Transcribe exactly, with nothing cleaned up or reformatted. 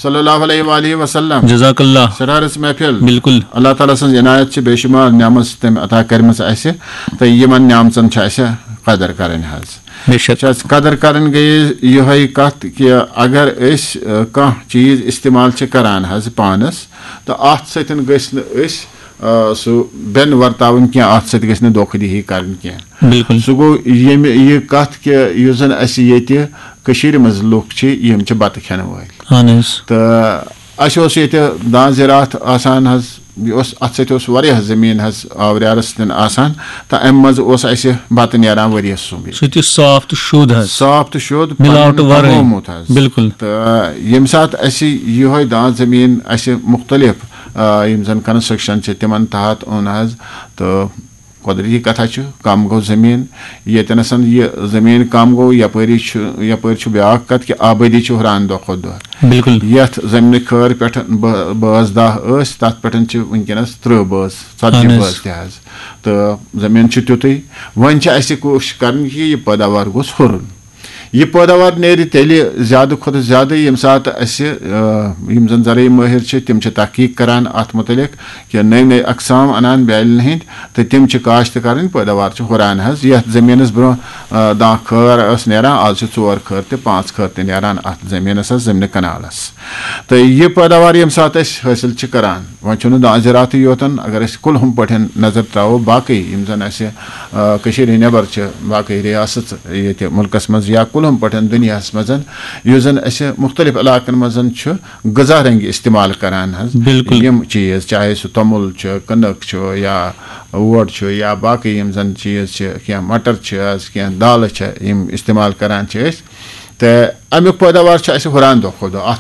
صلی اللہ علیہ وآلہ وسلم۔ جزاک اللہ۔ سرارس محفل۔ بالکل۔ اللہ تعالیٰ سٕنٛز عنایت چھِ بے شمار نعمت تٔمۍ عطا کٔرمٕژ اَسہِ، تہٕ یِمن نعمژن چھِ اَسہِ قدر کَرٕنۍ حظ۔ بے شک۔ چھِ اَسہِ قدر کَرٕنۍ گٔیے یِہوٚے کَتھ کہِ اگر أسۍ، آ، کانٛہہ چیٖز استعمال چھِ کَران حظ پانَس، تہٕ اَتھ سۭتۍ گٔژھۍ نہٕ أسۍ، آ، سُہ بٮ۪ن ورتاوٕنۍ کینٛہہ، اَتھ سۭتۍ گٔژھۍ نہٕ دھوکھہٕ دِہی کَرٕنۍ کینٛہہ۔ بالکل۔ سُہ گوٚو ییٚمہِ یہِ کَتھ کہِ یُس زَن اَسہِ ییٚتہِ کٔشیٖرِ منٛز لُکھ چھِ، یِم چھِ بَتہٕ کھٮ۪نہٕ وٲلۍ۔ اہن حظ۔ تہٕ اَسہِ اوس ییٚتہِ دانہِ زِراعت آسان حظ، یہِ اوس، اَتھ سۭتۍ اوس واریاہ زٔمیٖن حظ آوریٛارَس سۭتۍ آسان، تہٕ اَمہِ منٛز اوس اَسہِ بَتہٕ نیران ؤریَس سُنٛمب۔ سُہ تہِ صاف تہٕ شوٚد حظ۔ صاف تہٕ شوٚد، مِلاوٹہٕ پَنُن وَرٲے۔ کمومُت حظ۔ بالکل۔ تہٕ ییٚمہِ ساتہٕ اَسہِ یِہوٚے دانہِ زٔمیٖن اَسہِ مُختٔلِف، آ، یِم زَن کنسٹرکشن چھِ، تِمن تحت اوٚن حظ، تہٕ قۄدرٔتی کَتھا چھُ، کَم گوٚو زٔمیٖن۔ ییٚتٮ۪نَس یہِ زٔمیٖن کَم گوٚو، یَپٲری چھُ، یَپٲرۍ چھُ بیٛاکھ کَتھ کہِ آبٲدی چھِ ہُران دۄہ کھۄتہٕ دۄہ۔ بالکل۔ یَتھ زٔمیٖنہِ خٲر پٮ۪ٹھ بٲ-، بٲژ دَہ ٲسۍ، تَتھ پٮ۪ٹھ چھِ وٕنکیٚنَس تٕرٛہ بٲژ، ژَتجی اہن حظ۔ بٲژ تہِ حظ۔ تہٕ زٔمیٖن چھُ تیُتُے۔ وۄنۍ چھِ اَسہِ کوٗشِش کَرٕنۍ کہِ یہِ پٲداوار گوٚژھ ہُرُن۔ یہِ پٲداوار نیرِ تیٚلہِ زیادٕ کھۄتہٕ زیادٕ، ییٚمہِ ساتہٕ اَسہِ، آ، یِم زَن زرعی مٲہِر چھِ، تِم چھِ تحقیٖق کَران اَتھ مُتعلِق کہِ نٔوۍ نٔوۍ اقسام اَنان بیٛالٮ۪ن ہٕنٛدۍ، تہٕ تِم چھِ کاشت کَرٕنۍ، پٲداوار چھِ ہُران حظ۔ یَتھ زٔمیٖنَس برٛونٛہہ، آ، دَہ خٲر ٲس نیران، آز چھِ ژور خٲر تہِ، پانٛژھ خٲر تہِ نیران اَتھ زٔمیٖنَس حظ، زٔمیٖنہِ کَنالَس۔ تہٕ یہِ پٲداوار ییٚمہِ ساتہٕ أسۍ حٲصِل چھِ کَران، وۄنۍ چھُنہٕ دانہِ زِراعتٕے یوت، اگر أسۍ کُلہُم پٲٹھۍ نظر ترٛاوو، باقٕے یِم زَن اَسہِ، آ، کٔشیٖرِ نٮ۪بر چھِ، باقٕے ریاست ییٚتہِ مُلکَس منٛز یا کُلہُم پٲٹھۍ دُنیاہَس منٛز، یُس زَن اَسہِ مُختٔلِف علاقَن منٛز چھُ غذا رنگہِ استعمال کران حظ۔ بالکل۔ یِم چیٖز، چاہے سُہ توٚمُل چھُ، کٕنٕک چھُ، یا اوٹ چھُ، یا باقٕے یِم زَن چیٖز چھِ، کینٛہہ مٹر چھِ حظ، کینٛہہ دالہٕ چھِ، یِم استعمال کران چھِ أسۍ۔ تہٕ اَمیُک پٲداوار چھُ اَسہِ ہُران دۄہ کھۄتہٕ دۄہ۔ اَتھ